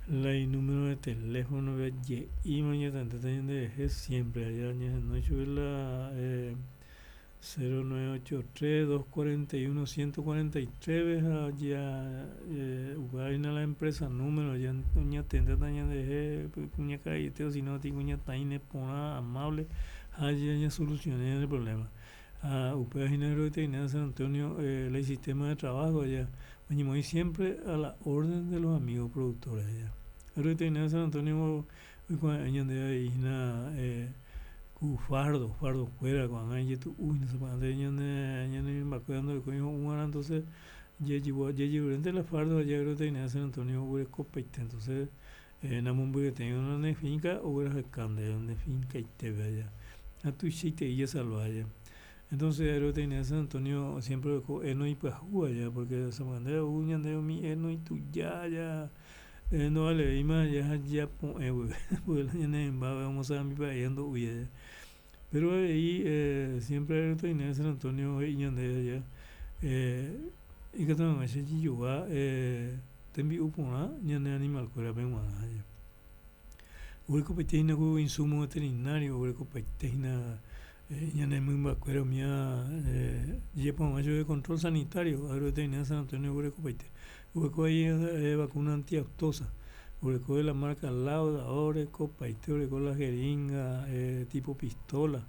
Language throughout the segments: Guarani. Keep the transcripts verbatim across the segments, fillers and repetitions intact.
La inúmero de teléfono je'íma oñatendéta ñanderehe siempre allá ñahenói chupe la cero nueve ocho tres dos cuarenta y uno ciento cuarenta y tres-pe ha upéva hína la empresa número oñatendéta ñanderehe kuñakaraiete o si no peteĩ kuñataĩ neporã amable ha ñasoluciona ñane problema ha upéva hína agroveterinaria San Antonio la isistema de trabajo aja oñemoĩ siempre a la orden de los amigos productores aja. Agroveterinaria San Antonio oikuave'ẽ ñandéve avei hína ku fardo, fardo-kuéra ko'ág̃a ijetu'u hína sapy'ánte ñane ñane mymbakuéra ndorekói ho'uarã entonces jajerurénte la fardo ha agroveterinaria San Antonio oguerekopaite entonces namombyryetéirõ la ne finca oguerahaka ndéve nde finkaitépe aja ha tuichaiterei jasalva aja entonces agroveterinaria San Antonio siempre oreko heno ipyahúva aja porque sapy'ánte ou ñandéve umi heno ituja ja ndovalevéima ja japo'ẽ guive la ñane rymba omosarambipa'ei ha ndo'úi aja pero avei siempre agroveterinaria San Antonio he'i ñandéve aja ikatu hag̃uáicha jajogua tembi'u porã ñane animal-kuérape g̃uarã aja. Oguerekopaite hína ku insumo veterinario oguerekopaite hína ñane mymbakuéra umíva jajapo hag̃ua chupe control sanitario agroveterinaria San Antonio oguerekopaite oguereko avei vacuna antiaftosa oguereko de la marca Lauda orekopaite oreko la jeringa tipo pistola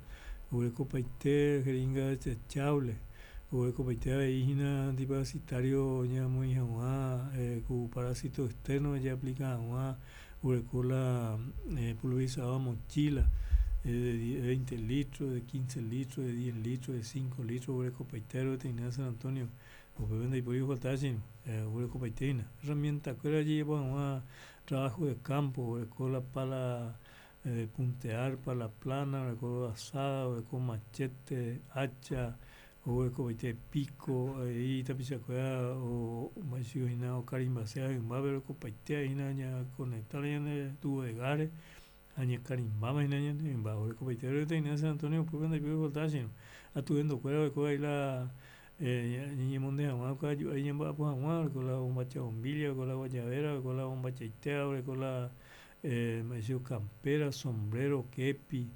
oguerekopaite jeringa desechable oguerekopaite avei hína antiparasitario ñamoĩ hag̃ua ku parasito externo ojeaplika hag̃ua oguereko la pulverizador mochila de veinte litros, de quince litros, de diez litros, de cinco litros oguerekopaite agroveterinaria San Antonio upépe ndaipóri ofalta che irũ oguerekopaite hína herramientakuéra ojejapo hag̃ua trabajo de campo oguereko la pala de puntear, pala plana, oguereko azada, oguereko machete, hacha, oguerekopaite pico avei tapichakuéra mba'eichahína okarimbaséva hymbápe orekopaite hína ñaconecta la ñande tubo de gas-re ha ñakarimbáma hína ñane rymba orekopaite agroveterinaria San Antonio upépe ndaipóri ofaltava che irũ atuendokuéra oreko avei la ñañemonde hag̃ua kavaju ári ñamba'apo hag̃ua oreko la bombacha bombilla, oreko la guayabera, oreko la bombachaitéva, oreko la mba'éicha campera, sombrero, kepi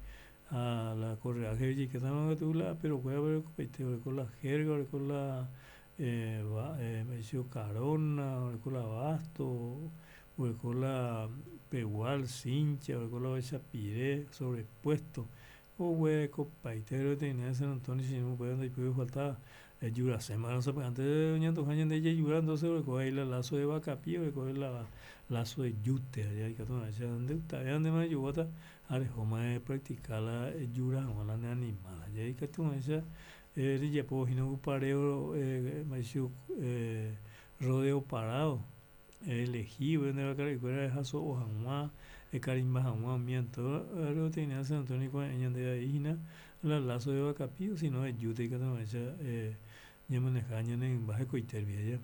ha la correaje ojeikétarõ katu la aperokuéra orekopaite oreko la jerga, oreko la mba'éicha karona, oreko la basto, oreko la pegual, cincha, oreko la ovechapire, sobrepuesto oguerekopaite agroveterinaria San Antonio che irũ upéva ndaipóri ofaltáva ejurasémarõ sapy'ánte oñantoha ñande jajura entonces oreko avei la lazo de vakapi oreko la lazo de yute aja ikatu hag̃uáicha ndegustave ndéma ejoguáta ha rehóma epractica la ejura hag̃ua la ne animal aja ikatu hag̃uáicha rejapohína ku pareo mba'éicha rodeo parado eelegi nde vakara'ykuéra ehaso'o hag̃ua ekarimba hag̃ua umía agroveterinaria San Antonio oikuave'ẽ ñandéve avei hína la lazo de vakapi o sino de yute ikatu hag̃uáicha ñamaneja ñane rymba hekoite rupi aja.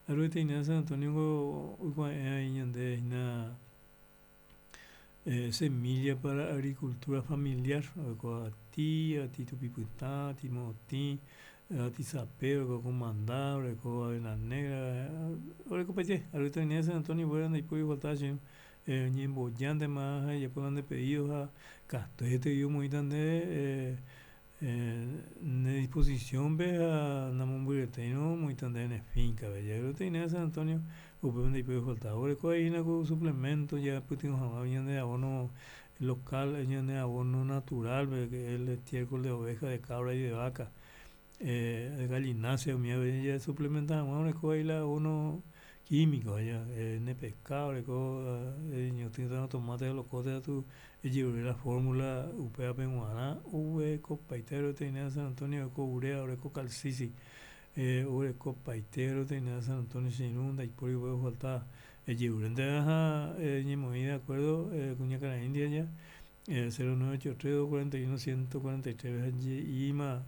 Agroveterinaria San Antonio-ngo oikuave'ẽ avei ñandéve hína semilla para agricultura familiar oreko avati, avati tupi pytã, avati morotĩ, avati sape, oreko kumanda, oreko avena negra, orekopaite agroveterinaria San Antonio upéva ndaipóri ofaltava che irũ eñembojántema ha ejapo la nde pedido ha katuetei omoĩta ndéve ne disposición-pe ha namombyryetéirõ omoĩta ndéve ne finca-pe agroveterinaria San Antonio upépe ndaipóri ofaltáva oguereko avei hína ku suplemento jaipytyvõ hag̃ua ñande abono local ñane abono natural-pe que es el estiércol de oveja, de cabra y de vaca de gallinácea umíva jasuplementa hag̃ua oreko avei la abono químico aja ene pe ka oreko eñotỹtarõ tomate ha locote katu ejerure la fórmula upévape g̃uarã oguerekopaite agroveterinaria San Antonio oreko urea oreko calcisi oguerekopaite agroveterinaria San Antonio che irũ ndaipóri upépe ofaltáva ejerurénte ha eñemoĩ de acuerdo kuñakarai ndive aja cero nueve ocho tres dos cuarenta y uno ciento cuarenta y tres-pe ha je'íma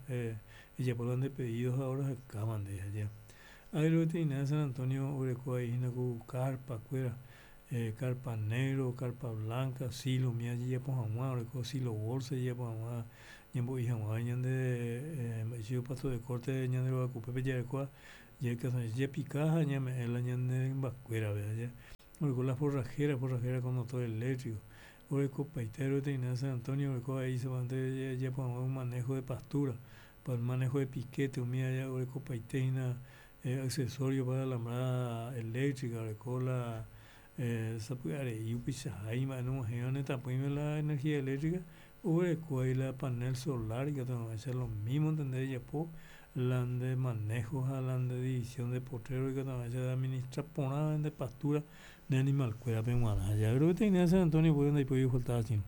ejapo la nde pedido ha orahakáma ndéve aja. Agroveterinaria San Antonio oguereko avei hína ku carpa-kuéra carpa negro, carpa blanca, silo umíva ojejapo hag̃ua oreko silo bolsa ojejapo hag̃ua ñambo'i hag̃ua ñande mba'éicha pasto de corte ñande rogakupépe jarekóva japika ha ñame'ẽ la ñane rymbakuérape aja. Oreko la forrajera, forrajera con motor eléctrico. Orekopaite agroveterinaria San Antonio oreko avei solamente jajapo hag̃ua un manejo de pastura, para el manejo de piquete umi aja orekopaite hína accesorio para alambrada eléctrica oreko la sapy'arei upeichahái mba'e nog̃uahẽiva netãpýime la energía eléctrica oguereko avei la panel solar ikatu hag̃uáicha lo mismo nde rejapo la nde manejo ha la nde división de potrero ikatu hag̃uáicha eadministra porã nde pastura ne animal-kuérape g̃uarã. Agroveterinaria San Antonio ndaipóri ofaltava che irũ.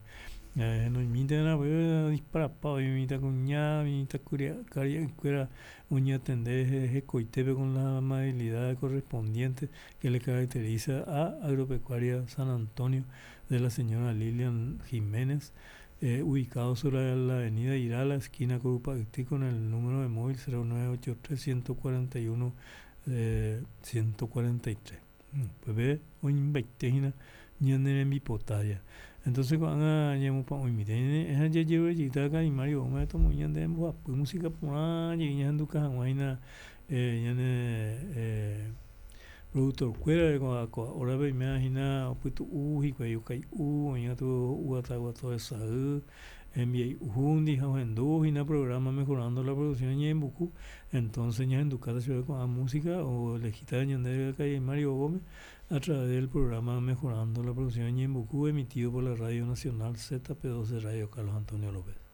Henoimíntena odisparapa umi mitãkuña, mitãkaria'ykuéra oñatende hekoitépe con la amabilidad correspondiente que le caracteriza a Agropecuaria San Antonio de la señora Lilian Giménez, ubicado sobre la avenida Irala, esquina Curupa'yty, con el número de móvil cero nueve ocho tres ciento cuarenta y uno ciento cuarenta y tres. Upépe oĩmbaite hína ñane rembipota ja. Entonces ko'ág̃a ñamopa'ũmíta ha jajerurejeyta karai Mario Gómez tomoĩ ñande mbohapy música porã jey ñahenduka hag̃ua hína ñane productor-kuérare ko'ã hora-pe oiméva hína opytu'u hikuái okai'u oĩva katu ho'úva tesay hembiai'úndi ha ohendúvo hína programa Mejorando la Producción Ñe'ẽmbuku entonces ñahendukáta chupe ko'ã música oelegíta ñandéve karai Mario Gómez a través del programa Mejorando la Producción Ñe'ẽmbuku emitido por la Radio Nacional Z P doce Radio Carlos Antonio López.